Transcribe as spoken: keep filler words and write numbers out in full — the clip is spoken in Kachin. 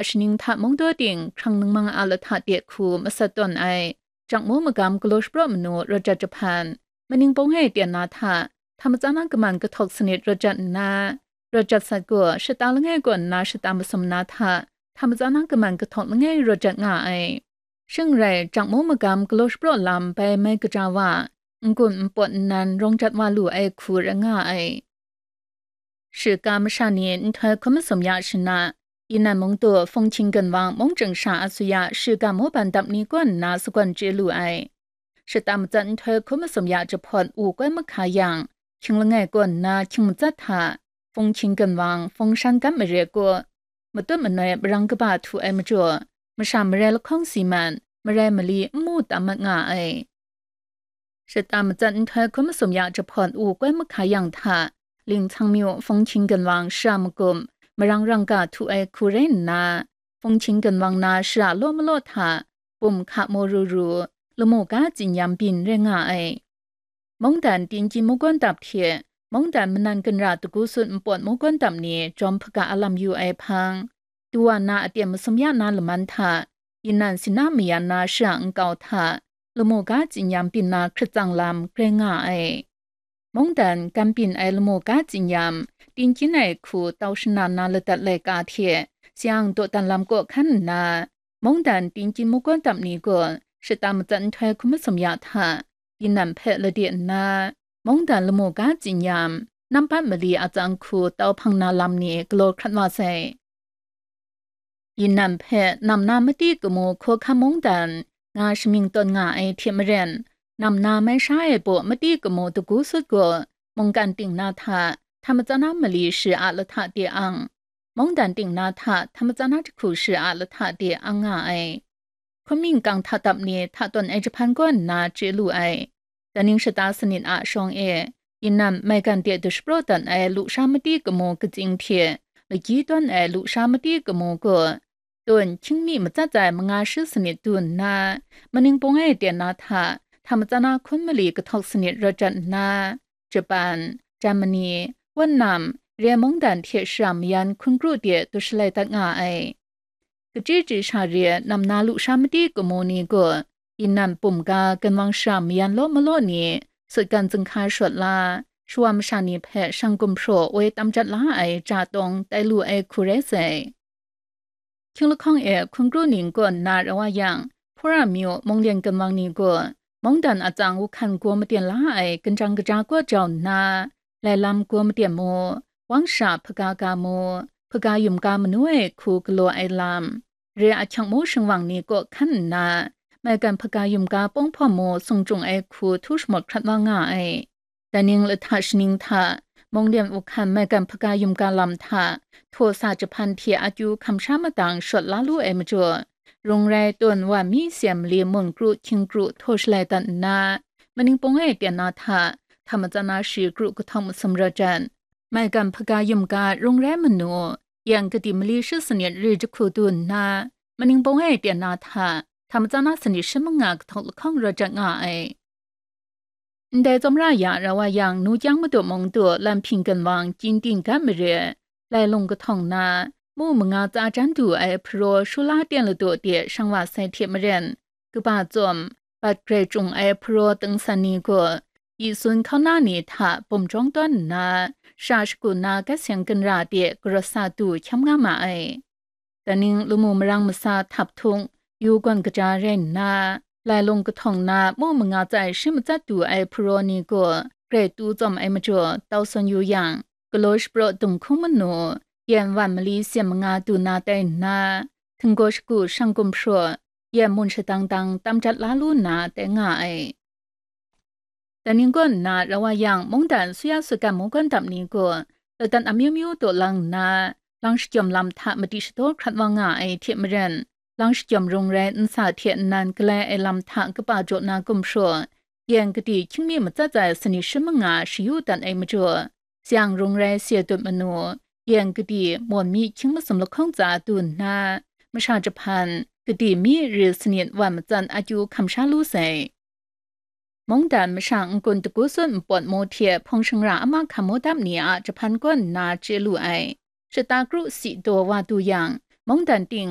ashaning hta mungdaw ting hkrang ningmang a lahta de hku masat tawn ai, jangmu magam galaw shapraw manu rawt jat jahpan, maning pawng e ten na hta, hta matsan a kaman kahtawk sanit rawt jat nna, rawt jat sat gaw shata langai kaw nna shata masum na hta, hta matsan a kaman kahtawk langai rawt jat nga ai. Shing rai, jangmu magam galaw shapraw lam bai mai kaja wa, n-gun n pawt nnan rawng jat wa lu ai hku rai nga ai. Shiga masha ni nhtoi hkun masum ya shana, Yinan mung du Fungqing Ginwang mung ching sha a su ya shiga mawban dap ni kaw nna sagawn chye lu ai. Shata matsat nhtoi hkun masum ya jahpawt u koi mahka yang, hkying langai kaw nna hkying matsat hta, Fungqing Ginwang, Fungshan Gam Mare kaw, matut manoi marang kaba htu ai majaw, masha marai lahkawng si mat, marai mali n mu tam mat nga ai. Shata matsat nhtoi hkun masum ya jahpawt u koi mahka yang hta, Lingcang myu Fungqing Ginwang shara magum, marang rang ga htu ai hku rai nna, Fungqing Ginwang na shara law malaw hta, bum hka maw ru ru, lamu ga tsinyam byin rai nga ai. Mungdan Tingkyin mungkawn dap hte, mungdan manan ginra dagu sut npawt mungkawn dap ni jawm hpaga a lam yu ai hpang, Duwa na aten masum ya na laman hta, Yinan Sina mayan na shara nkau hta, lamu ga tsinyam byin na hkrit tsang lam grai nga ai. Mungdan gan byin ai lamu ga tsinyam, Tingkyin ai hku tau shana na ladat laika hte, sayang dawdan lam kaw hkan nna, mungdan Tingkyin mungkawn dap ni gaw shata matsat nhtoi hkun masum ya hta, Yinan hpe lade nna, mungdan lamu ga tsinyam, nambat mali a tsang hku tau hpang na lam ni galaw hkrat wa sai. Yinan hpe nam na mati kamu hkawhkam mungdan nga shamying tawn nga ai hte maren, nam na mai sha ai baw mati kamu dagu sut gaw mungkan ting na hta, hta matsan a mali shi a lahta de ang, mungdan ting na hta, hta matsan a jahku shi a lahta de ang nga ai. Hkun mingkang hta dap ni hta tawn ai jahpan kaw nna chye lu ai. Daning shata sanit a shawng e, Yinan maigan de dushapraw dat ai lusha mati kamu katsing hte, lagyi tawn ai lusha mati kamu gaw, tun hkying mi matsat ai manga shi sanit du nna, maning pawng e ten na hta, hta matsan a hkun mali kahtawk sanit rawt jat nna, Japan, Germany, Wannam, re mungdan hte shara mayan hkun kru de dushalai dat nga ai. Kachyi chyi sha re nam na lusha mati kamu ni gaw, Yinan bum ga Ginwang shara mayan law malaw ni, sutgan zinghka shawt la, shawa masha ni hpe shang gumhpraw woi tam jat la ai ja tawng tai lu ai hku rai sai. Hkying lahkawng e hkun kru ning kaw nna rau wa yang, Hpura myu Munglen Ginwang ni gaw, mungdan a tsang wuhkan gaw maten la ai ginjang kaja kaw jau nna, lai lam gaw maten mu, wang sha hpaga ga mu, hpaga yum ga manu ai hku galaw ai lam, re ahkyak mu shingwang ni kaw hkan nna, maigan hpaga yum ga pawng hpawm mu sung chyung ai hku htu shamawt hkrat wa nga ai. Daning lahta shaning hta, Munglen wuhkan maigan hpaga yum ga lam hta, htaw sa jahpan hte akyu hkam sha madang shawt la lu ai majaw, rung rai tawn wa mi seng mali mun kru hkying kru htaw shalai dat nna, maning pawng e ten na hta, hta matsan a shi kru kahtawng masum rawt jat, maigan hpaga yum ga rung rai manu, yang kadi mali shi sanit ri jahku du nna, maning pawng e ten na hta, hta matsan a sanit shi manga kahtawk lahkawng rawt jat nga ai. Ndai tsawmra ya rau wa yang, nu kyang madu mung du Lam Hping Ginwang Kyinting Gat Mare, lai lung kahtawng na, mu manga tsa jan du ai hparaw Shula Ten Ladu de shang wa sai hte maren, kaba tsawm, bat grai chyung ai hparaw ting san ni gaw, yi sun hkauna ni hta bum jawng tawn nna, sha shagu na gat seng ginra de garawt sa du hkyam nga ma ai. Daning lamu marang masa htap htung, yu gawn kaja rai nna, lai lung kahtawng na mu manga tsai shi matsat du ai hparaw ni gaw grai tu tsawm ai majaw tau sawn yu yang, galaw shapraw dung hkung manu, yan wan mali seng manga du na tai nna, htinggaw shagu shang gumhpraw, yan mun shadang dang tam jat la lu nna tai nga ai. Daning kaw nna rau wa yang, mungdan suya sutgan mungkan dap ni gaw, ladat amyu myu taw lang nna, lang shajawm lam hta madi shadaw hkrat wa nga ai hte maren, lang shajawm rung rai nsa hte nnan galai ai lam hta kaba jaw na gumhpraw, yan kadi hkying mi matsat ai sanit shi manga shayu dat ai majaw, sayang rung rai se dut manu, yan kadi mawn mi hkying masum lahkawng tsa du nna, masha jahpan, kadi mi ri sanit wan matsat akyu hkam sha lu sai. Mungdan masha n-gun dagu sut npawt mu hte hpawng shangra ama hkam mu dap ni a jahpan kaw nna chye lu ai. Shata kru si daw wa du yang, mungdan ting